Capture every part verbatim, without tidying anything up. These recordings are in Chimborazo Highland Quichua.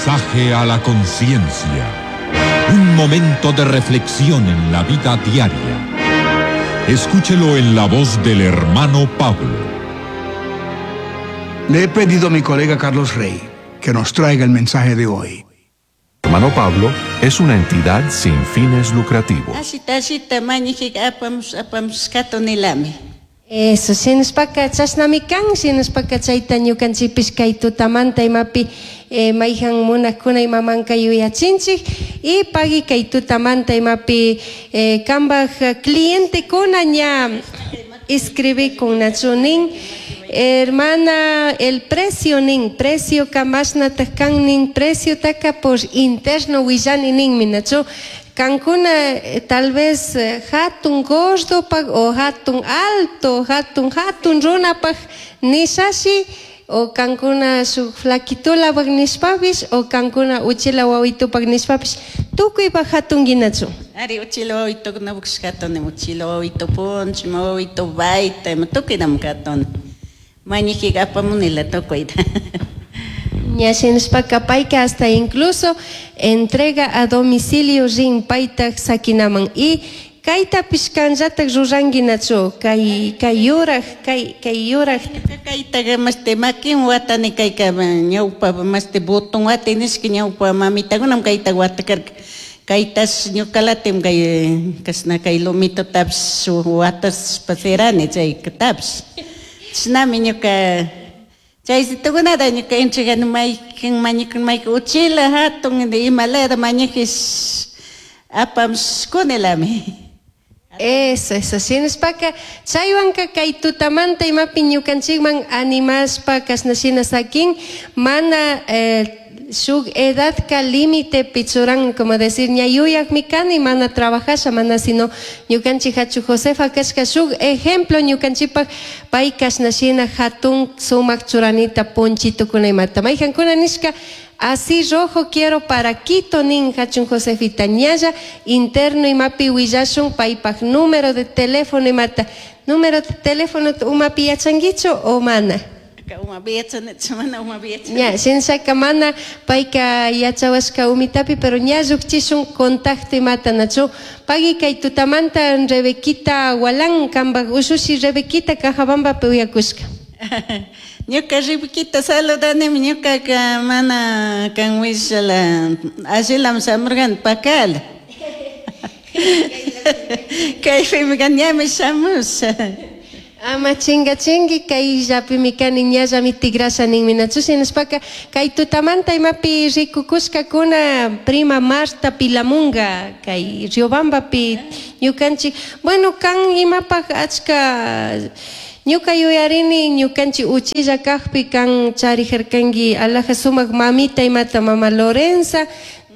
Mensaje a la conciencia. Un momento de reflexión en la vida diaria. Escúchelo en la voz del hermano Pablo. Le he pedido a mi colega Carlos Rey que nos traiga el mensaje de hoy. Hermano Pablo es una entidad sin fines lucrativos. Ashita ashita mañijika apamush apamushkatunilami. Eso, shinashpaka chashnami kan, shinashpaka chayta ñukanchikpish kay tutamanta imapi eh, mayhan munakuna imamanka yuyachinchik y pagui kay tutamanta imapi eh, kambaj clientekuna ña inscribikun nin hermana el precio nin precio mashnataq kan nin precio taka por interno willani ninmi nachu kankuna eh, tal vez eh, hatun gordopaj o hatun alto hatun hatun runapaj nishashi o kankuna shuk flaquitulapaj nishpapish o kankuna uchila wawitupaj nishpapish tukuypaj hatunguinachu. Ari uchila wawitukunapush katuni uchila wawitu puncho, wawitu bayta, ima tukuynami katuni. Mañijika apamunila tukuyta. Ña shinashpaka payka hasta incluso entrega a domicilio rin paytaj sakinaman y kaytapish kanllatak ruranguinachu kay kay yuraj kay kay yuraj. Kaytaqa mashti makin watani kayka ñawpa mashti botón wati nishka ñawpa mamitakunam kayta watakarka. Kaytash ñukalatim kay kashna kay lomitotapish watashpa sirani chaykatapish. Chashnami ñuka chaysitukunata ñuka entregani maykan mañakun maykan uchila hatun imalaya mañajish apamushkunilami. Eso, eso, shinashpaka chaywanka kay tutamanta imapi ñukanchikman animashpa kashna shina sakin mana eh, shuk edadka límite pichuran como decir ña yuyakmi kani mana trabajasha mana sino ñukanchik hachu Josefa kashka shuk ejemplo ñukanchikpak pay kashna shina hatun sumak churanita ponchitukuna imata mayhankuna nishka así rojo quiero para Quito nin hachun Josefita ñalla interno imapi willashun paypak número de teléfono imata número de teléfono umapi yachanguichu o mana. Umapi yachanichu mana umapi yachani. Ña shinshaka mana payka yachawashka umitapi pero ña llukchishun contacto imata nachu pagui kay tutamanta Rebequita Gualán kambaj ushushi Rebequita Cajabambapi uyakushka. Ñuka Rebequita saludanimi ñukaka mana kan wishala allilam shamurkani pakala. Kaypimi kan ñami shamusha. Ama chinga chingi kayllapimi kani ñallami tigrasha ninmi nachu shinashpaka kay tutamanta imapi rikukushkakuna prima Marta Pilamunga kay Riobambapi ñukanchik bueno kan imapaj achka ñuka yuyarini ñukanchik uchilla kajpi kan charijarkanki alaja sumak mamita imata mama Lorenza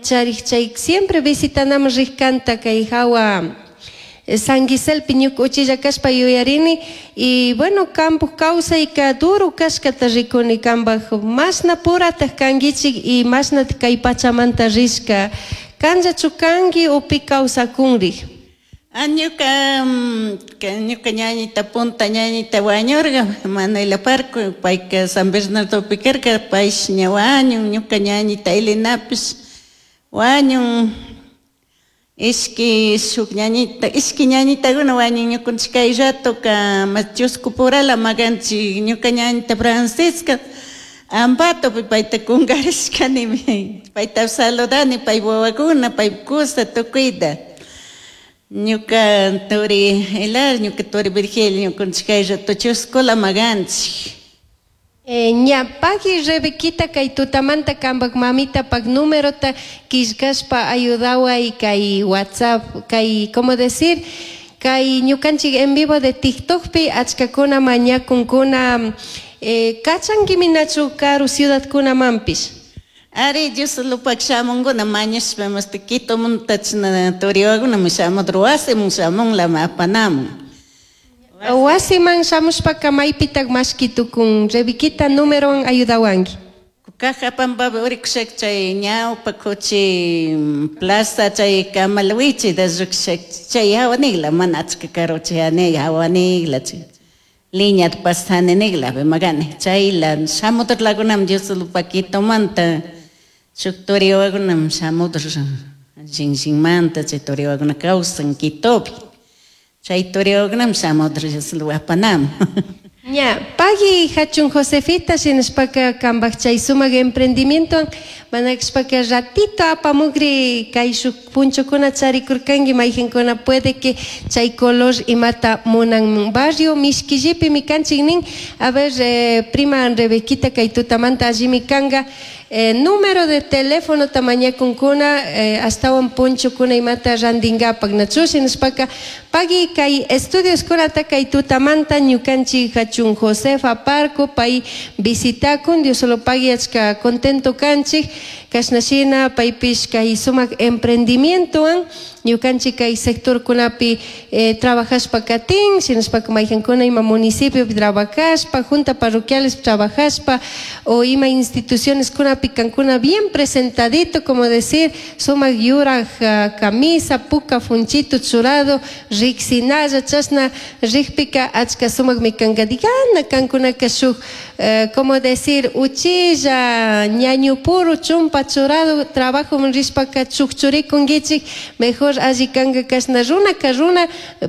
charij chay siempre visitanaman rijkanta kay hawa San Giselpi ñuka uchilla kashpa yuyarini y bueno kampuj kawsayka duro kashkata rikuni kambaj mashna purataj kankichik y mashna kay pachamanta rishka kanllachu kanki o pi kawsakunrik. Ah, ñuka ñuka ñañita punta ñañita wañurka Manuela Parco payka San Bernardopi karka paysh ña wañun ñuka ñañita Elenapish wañun ishki shuk ñañita ishki ñañitakuna wañun ñukanchik kay ratoka chusku purala makanchik ñuka ñañita Francisca Ambatopi payta kunkarishkanimi payta saludani pay wawakuna pay kusa tukuyta ñuka turi Elar ñuka turi Virgilio ñukanchik kay rato chuskula makanchik. Eh, ña pagui Rebequita kay tutamanta kambaj mamitapak numerota killkashpa ayudaway kay WhatsApp kay como decir kay ñukanchik en vivo de TikTokpi achkakuna mañakunkuna eh, kachankimi nachu karu ciudadkunamanpish. Ari Dioslupak shamunkuna mañashpa mashti Quitomunta chashna turiwakuna shamudor wasiman shamunlami apanamun. Wasiman shamushpaka maypitak mashki tukun Rebequita numerowan ayudawanki. Cajapampapi urikushaka chay ñawpa kuchi plaza chay Kamalwichita llukshak chay hawanigla mana achka karuchi hanig hawanigla chay liñata pasaninikla magani chayla shamudorlakunami Dioslupak Quitomanta Shuk turiwakunam shamudr Shinshimanta chay turiwakuna kawsan Quitopi. Chay turiwakunam shamudr apanam. Ña, pagui hachun Josefita shinashpaka kambak chay sumak emprendimiento manakashpaka ratito apamukri kay shuk punchukuna charikurkanki mayqinkuna puede que chay color imata munan barrio Mishquillipimi kanchik nin. A ver, eh, prima Rebequita kay tutamanta allimi kanga. Eh, número de teléfono tamañakunkuna eh, astawan punchukuna imata randingapak nachu shinashpaka pagui kay estudios kunata kay tutamanta ñukanchik hachun Josefa Parco pay visitakun Dios solo pagui achka contento kanchik kashnashina paypish kay sumak emprendimientowan ñukanchik kay sectorkunapi eh, trabajashpa katin shinashpaka mayqankuna ima municipiopi trabajashpa junta parroquiales trabajashpa o ima instituciones kunapi kankuna bien presentadito como decir sumak yuraj uh, camisa puka funchito churado riksinalla chashna rikpika achka sumakmi kanka digana kankunaka shuk eh, como decir uchilla ñañupuru chumpa churado trabajo rishpaka chukchurikunkichik mejor alli kanka kashna runaka runa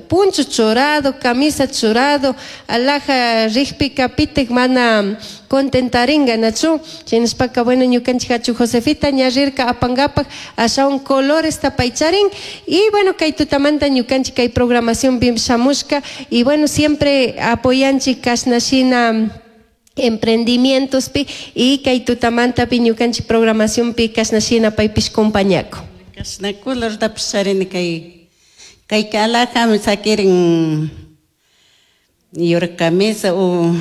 puncho churado camisa churado alhaja rikpika pitik mana contentaringa nachu shinashpaka bueno ñukanchik hachu Josefita ña rirka apangapak ashawan colores paycharin y bueno kay tutamanta ñukanchik kay programación bim shamushka y bueno siempre apoyanchik kashnashina emprendimientos pi y kay tutamantapi ñukanchik programación pi kashnashina paypish compañako. Kashna colortapish charini kay kayka alhajami sakirin yurak camisa o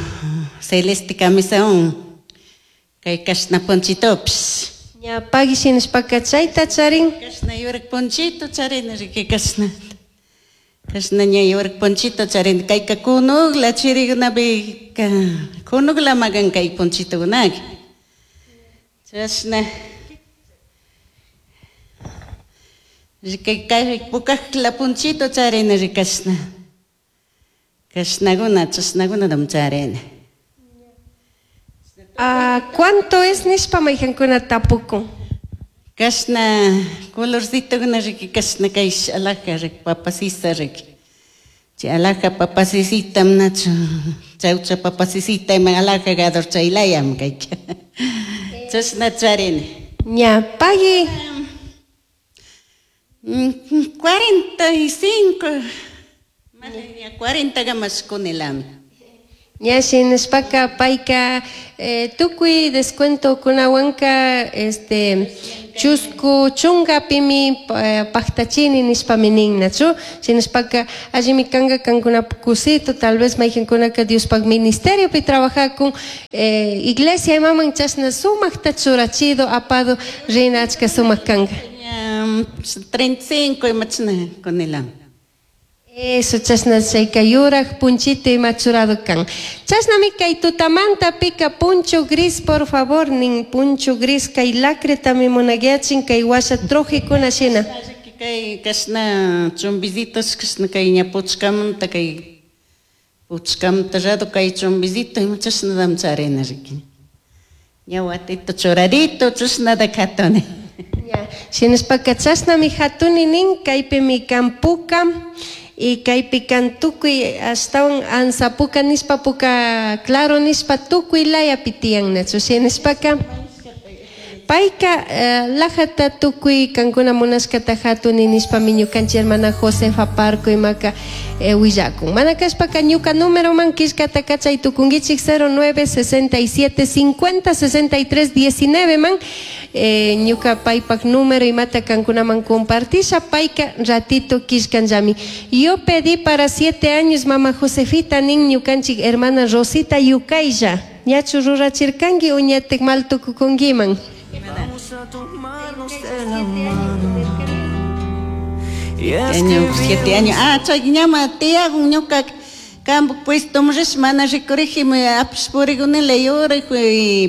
celeste camisawan kay kashna ponchitopish. Ña pagui shinashpaka chayta charin. Kashna yurak ponchito charini riki kashna. Kashna ña yurak ponchito charini kayka kunukla chirikunapi kunukla makan kay ponchitokunaka. Chashna kay kay pukakla ponchito charini rikashna. Kashnakuna chashnakunatam charini. Ah, ¿cuánto es nishpa mayqankuna tapukun? Kashna colorcitokuna riki kashna kay alhaja riki papasisa riki. Chay alhaja papasisitam nachu chawcha papasisita ima alhaja gador chaylayam kayka. Chashna charini. Ña, pagui. Cuarenta y cinco. Cuarenta gamas kunilami. Ña shinashpaka payka eh, tukuy descuento kunawanka este chusku chungapimi eh, paktachini nishpami nin nachu shinashpaka allimi kanka kankunapak kusito tal vez mayqinkunaka Diospak ministeriopi trabajakun eh, iglesia imaman chashna sumakta churachido apado rina achka sumak kanka. Treinta y cinco imachna kunilami. Eso, chashna chayka yuraj punchito ima churado kan. Chashnami kay tutamanta pika puncho gris, por favor, nin puncho gris kay lacretami munagyachin kay washa trojikuna shina. Kay kashna chumbisitos kashna kay ña puchkamanta kay puchkamanta rado kay chumbisito ima chashnadam charina riki. Ña watito churadito chashnada katuni. Shinashpaka chashnami hatuni nin kaypimi kan puka y kaypi kan tukuy astawan ansapuka nishpa puka claro nishpa tukuy layapi tiyan nachu shinashpaka payka eh, lajata tukuy kankuna munashkata hatuni nishpami ñukanchik hermana Josefa Parco imaka eh, willakun. Mana kashpaka ñuka número man killkata kachay tukunkichik cero nueve sesenta y siete cincuenta sesenta y tres diecinueve man eh, ñuka paypak número imata kankunaman compartisha payka ratito killkanllami. Yo pedí para siete años mama Josefita nin ñukanchik hermana Rosita Yukaylla. Ñachu rurachirkanki o ñatik mal tukukunkiman. Vamos a tomarnos de la mano. Y es Año, que siete años. Ah, chay ñama tiyagun ñuka kampu puesto mrish mana rikuriji apish purigunila yuraj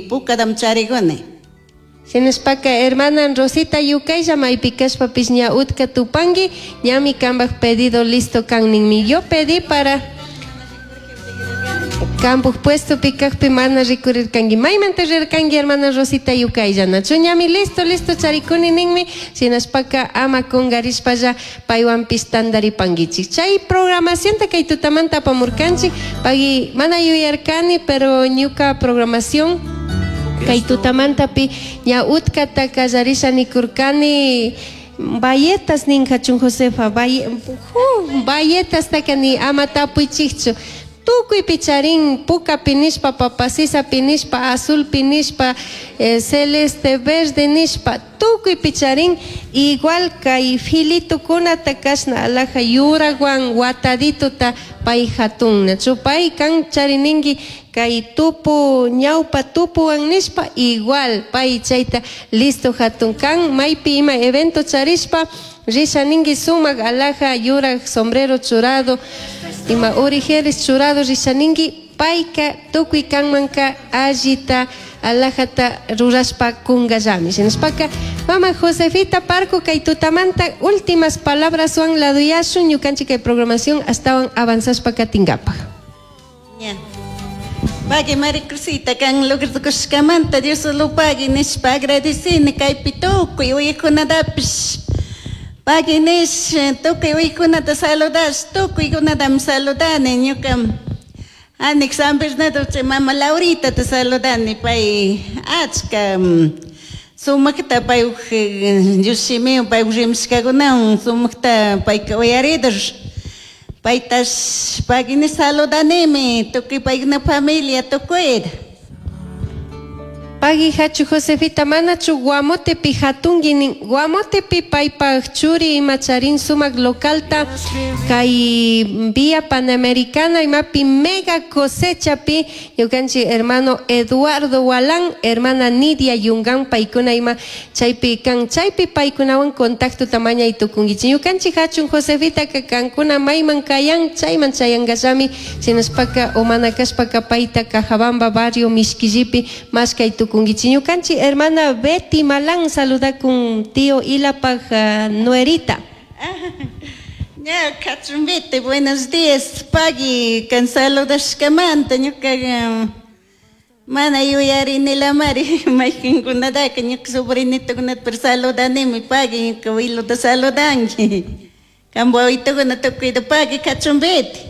pukadam chariguni. Shinashpaka hermana Rosita Yukaylla maypi kashpapish ña utka tupanki ñami kambaj pedido listo kan ninmi. Yo pedí para Campo puesto pikakpi mana rikurirkanki. Maymanta rirkanki hermana Rosita Yukaylla. Nachu ñami listo, listo charikuni ninmi. Shinashpaka ama kungarishpalla paywanpish tantaripankichik. Chay programacionta kay tutamanta apamurkanchik. Pagui mana yuyarkani, pero ñuka programación kay tutamantapi ña utkata kallarisha nikurkani bayetas nin hachun Josefa, baye, uh, bayetas takani ama tapuychikchu. Tukuy picharín, puka pinishpa, papasisa pinishpa, azul pinishpa, eh, celeste, verde nishpa, tukuy picharín, igual kay filitukunata kashna alaja yurawan watadituta pay hatun. Nachu pay kan charininki kay tupu ñawpa tupuwan nishpa, igual pay chayta listo hatun kan, maypi ima evento charishpa, risha ninki sumak alaja yuraj sombrero churado, ima origeres churado risha ninki payka tukuy kanmanka allita alajata rurashpa kungallami. Shinashpaka mama Josefita Parco kay tutamanta últimas palabras wan laduyashun ñukanchik kay programación astawan avanzashpa katingapaj. Ya. Pagui Maricruzita kan logratukushkamanta Dios lo pagui nishpa agradecini kaypi tukuy uyajkunatapish. Pagui nish tukuy uyajkunata saludash tukuykunatami saludani ñuka anik San Bernardo chay mama Laurita te saludani pay achka sumakta pay Dios shimiwan pay rimashkakunawan sumakta payka uyaridur. Paytash pagui saludanimi tukuy paykuna familia tukuyta. Pagui hachu Josefita manachu Guamotepi hatunki nin Guamotepi paypaj churi ima charin sumak localta kay vía Panamericana imapi mega cosechapi ñukanchik hermano Eduardo Walán, hermana Nidia Yungan paykuna ima chaypi kan chaypi paykunawan contacto tamañay tukunkichik ñukanchik hachun Josefita ka kankuna mayman kayan chayman chayankallami shinashpaka o mana kashpaka payta Cajabamba barrio Mishquillipi mashkay tukunkichik. Ñukanchik hermana Betty Malán saluda con tío Ilapaj uh, nuerita. Ya, Cachumbete, buenos días. Pagui, kan saludashkamanta ñuka mana yuyarini lamari mayqinkunataka ñuka sobrinitokunata pero saludanimi pagui ñuka abuelota saludanki. Kampu awitukuna tukuyta pagui Cachumbete.